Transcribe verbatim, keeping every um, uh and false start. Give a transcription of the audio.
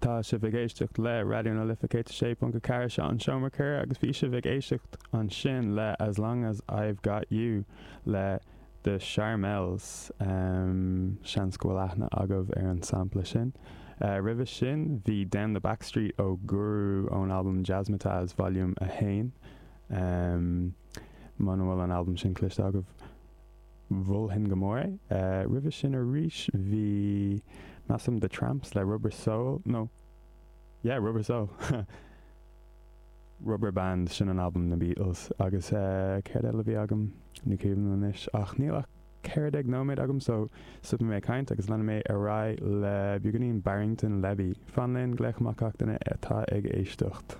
Tá sibh ag éisteacht le Raidió na Life céad sé ponc a ceathair seo an seomra ceoil agus bhí sibh ag éisteacht ansin le As Long as I've Got You le The Charmels um, seans go bhfuil aithne agaibh ar an sampla sin. Uh, Roimhe sin bhí Down the Back Street ó Guru ón album Jazzmatazz Volume a haon. Um, Muna bhfuil an album sin cloiste agaibh mholfainn go mór é. Uh, Roimhe sin arís bhí measaim The Tramps le Rubber Soul no yeah Rubber Soul Rubber Band sin an album na Beatles agus uh, céard eile bhí agam ní cuimhin anois ach níl ach ceithre déag nóiméad agam so stopfaidh mé caint agus leanfaidh mé ar aghaidh le beagáinín Barrington Levy. Fan linn glaoch amach duine atá ag éisteacht.